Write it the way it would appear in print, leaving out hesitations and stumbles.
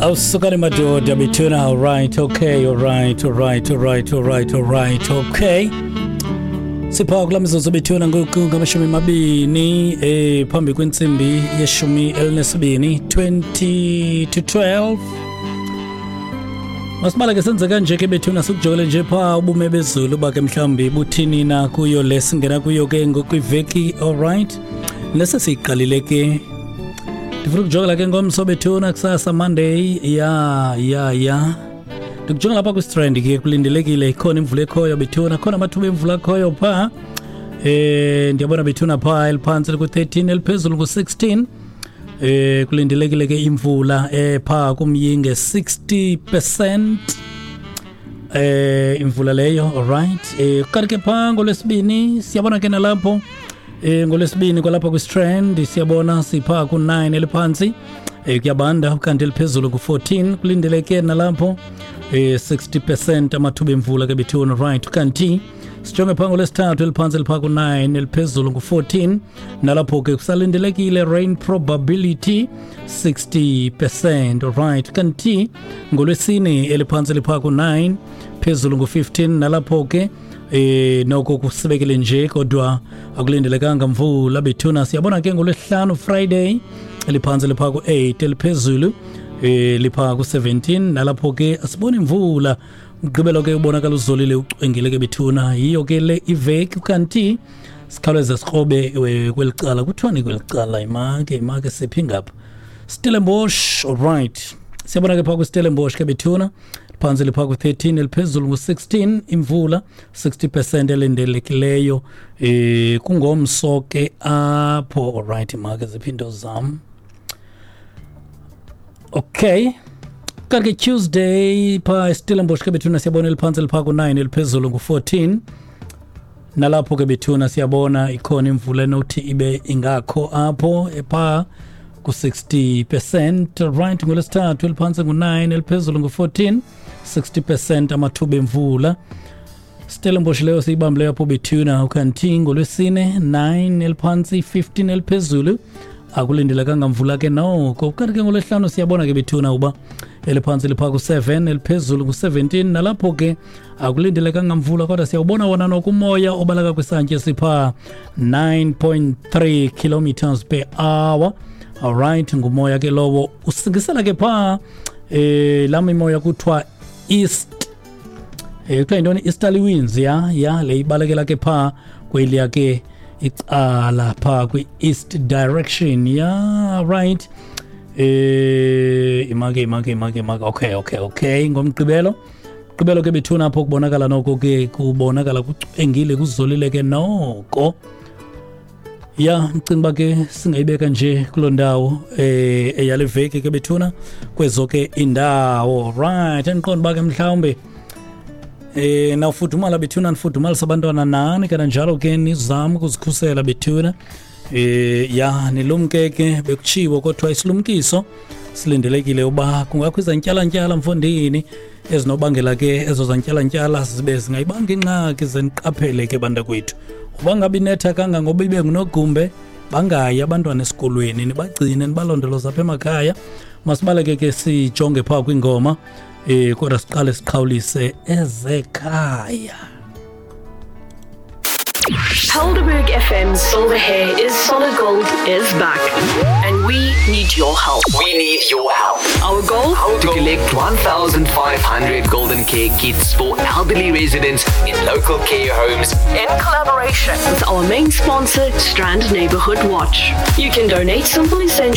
Awusukani madoda bethuna. Alright, okay, alright, alright, alright, alright, alright, okay. Sipha kula mizuzu bethuna ngoku 20 phambi kwentsimbi ye-12, 20 to 12. Masibale ke senze kanje ke bethuna, sikujongele nje phaa ubume bezulu uba ke mhlawumbi buthini na kuyo le singena kuyo ke ngokwiveki. Alright, lese siyiqalile ke. Ndifuna ukujongela ke ngomso bethuna, kusasa Monday. Ya, ndikujonga lapha kwiStrand ke kulindelekile ikhona imvula ekhoyo bethuna, khona amathuba emvula akhoyo phaa. Ndiyabona bethuna phaa eliphantsi liku-13, eliphezulu ku-16. Kulindelekile ke imvula phaa kumyinge 60% imvula leyo. Alright, kanti ke phaa ngolwesibini siyabona ke nalapho ngolwesibini kwalapha kwiStrand siyabona siphaa ku-9 eliphantsi, kuyabanda, kanti eliphezulu ku-14. Kulindeleke nalapho 60% amathuba emvula ke bethuna. Right, kanti sijonge phaa ngolwesithathu, eliphantsi liphaa ku-9, eliphezulu ngu-14. Nalapho ke kusalindelekile rain probability 60%. Alright, kanti ngolwesine eliphantsi liphaa ku-9, phezulu ngu-15. Nalapho ke noko kusibekele nje, kodwa akulindelekanga mvula bethuna. Siyabona ke ngolwesihlanu, Friday, eliphantsi liphaa ku-8, eliphezulu liphaa ku-17. Nalapho ke asiboni imvula. Mgqibelo ke ubonakala uzolile, ucwengile ke bethuna. Yiyo ke le iveki. Kanti sikhawuleze sikrobe kweli cala. Kuthiwani kweli cala? Imake siphi ngapha? Stellenbosch. Alright, siyabona ke phaa kwiStellenbosch ke bethuna, phantsi liphaa ku-13, eliphezulu ngu-16. Imvula 60% elindelekileyo kungomso ke apho. Alright, imake ziphi into zam? Okay, kanti ke Tuesday phaa eStellenbosch ke bethuna siyabona eliphantsi liphaa ku-9, eliphezulu ngu-14. Nalapho ke bethuna siyabona ikhona imvula enothi ibe ingakho apho epha ku-60%. Right, ngolwesithathu eliphantsi ngu-9, eliphezulu ngu-14, 60% amathuba emvula. Stellenbosch leyo siyibambileyo apho bethuna. Ukanti ngolwesine 9 eliphantsi, 15 eliphezulu, akulindelekanga mvula ke noko. Kanti ke ngolwesihlanu siyabona ke bethuna uba eliphantsi liphaa ku-7, eliphezulu ku-17. Nalapho ke akulindelekanga mvula, kodwa siyawubona wona noko umoya obaleka kwisantya esiphaa 9.3 kilometers per hour. Alright, ngumoya ke lowo usingisela ke phaa laa mimoya kuthiwa east, kuthiwa yintoni, easterly winds. Ya, le ibalekela ke phaa kweliya ke icala phaa kwi-east direction. Ya, right, imake. Okay, ngomgqibelo, gqibelo ke bethuna apho kubonakala noko ke kubonakala kucwengile, kuzolile ke noko. Ya, ndicinga uba ke singayibeka nje kuloo ndawo eyale veki ke bethuna kwezo ke indawo. Right, endiqonda uba ke mhlawumbe nawufudumala bethuna, nifudumalisa abantwana nani kananjalo ke nizame ukuzikhusela bethuna. Ya, nilumke ke, bekutshiwo kodwa isilumkiso silindelekile uba kungakho izantyalantyala mfondini ezinobangela ke ezo zantyalantyala zibe zingayibanga ingxaki. Zeniqaphele ke bantakwethu, uba ngabe inetha kangangoba ibe ngunogumbe, bangayi abantwana esikolweni, nibagcine, nibalondoloze apha emakhaya. Masibaleke ke sijonge phaa kwingoma, kodwa siqale siqhawulise ezekhaya. Helderberg FM's Silver Hair is Solid Gold is back. And we need your help. We need your help. Our goal? To collect 1,500 golden care kits for elderly residents in local care homes in collaboration with our main sponsor, Strand Neighborhood Watch. You can donate simple essentials.